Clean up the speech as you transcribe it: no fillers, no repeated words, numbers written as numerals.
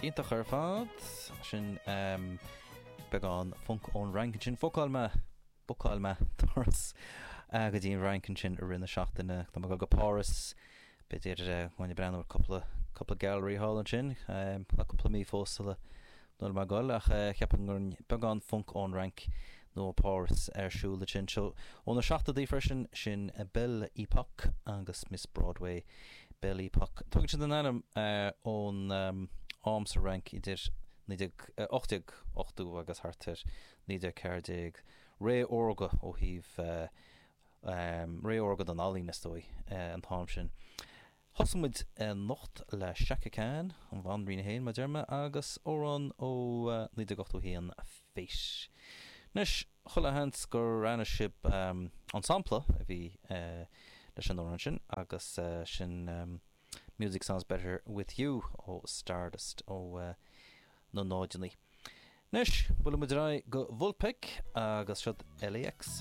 Iontach ar fad. Sin beagán func ón Fhrainc ansin. Bhookáil mé, bookáil mé turas go dtí an Fhrainc ansin i rith na seachtaine. Tá mé ag dul go Páras. B'fhéidir go mbeidh mé ag breathnú ar cúpla, cúpla gallery thall ansin. Tá cúpla mí fós sula bhfuil mé ag dul ach cheapfainn go raibh beagán func ón Fhrainc nó ó Páras ar siúl ansin. So, ó na seachtóidí freisin, sin Belle Epoque agus Miss Broadway. Belle Epoque. Tugann siad a n-ainm ón am sa Fhrainc idir 1880 agus thart ar 1914, ré órga ó thaobh ré órga don ealaín, is dóigh, an t-am sin. Thosaigh muid anocht le Chaka Khan, an bhanríon féin, mar a deir mé, agus amhrán ó 1981, Fate. Anois, chuile sheans gur aithin sibh an sampla a bhí leis an amhrán sin, agus sin Music Sounds Better With You ó Stardust ó na náideannaí. Anois, buailfidh muid ar aghaidh go Vulfpeck agus siod LAX.